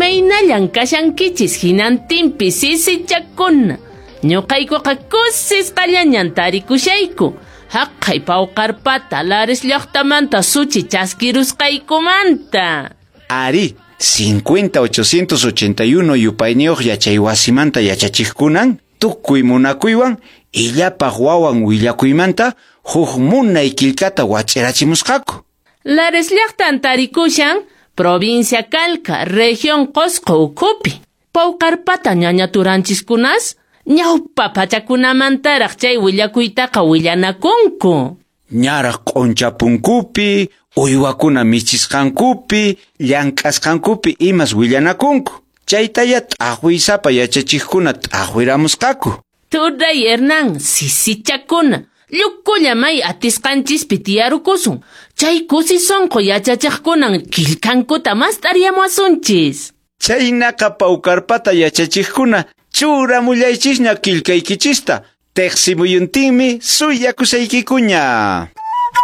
Imaynallan kashankichis hinantinpi sisichakuna. Ñuqaykuqa kusisqallañan tarikushayku. Haqay Pawqarpata Lares llaqtamanta suchi chaskirusqaykumanta. Ari, 50881 yupayniyuq yachaywasimanta yachachiqkunan tukuy munakuywan illapaq wawan willakuymanta huk munay killkata wach'irachimusqaku. Lares llaqtan tarikushan provincia Calca, región Qosqo ukhupi. Pawqarpata ñañaturanchiskunas ñawpa pachakunamantaraq chay willakuytaqa willanakunku. Ñaraq q'unchapunkupi, uywakuna michisqankupi, llank'asqankupi imas willanakunku. Chaytaya t'aqwiysapa yachachiqkuna t'aqwiramusqaku. Turay Hernán, sisichakuna, llukulla may atisqanchispi tiyarukusun. Chay kusi sunqu yachachiqkunan killkankuta mast'ariyamuwasunchis. Chaynaqa Pawqarpata yachachiqkuna churamullaychisña killkaykichista. Teqsimuyuntinmi suyakusaykikuña.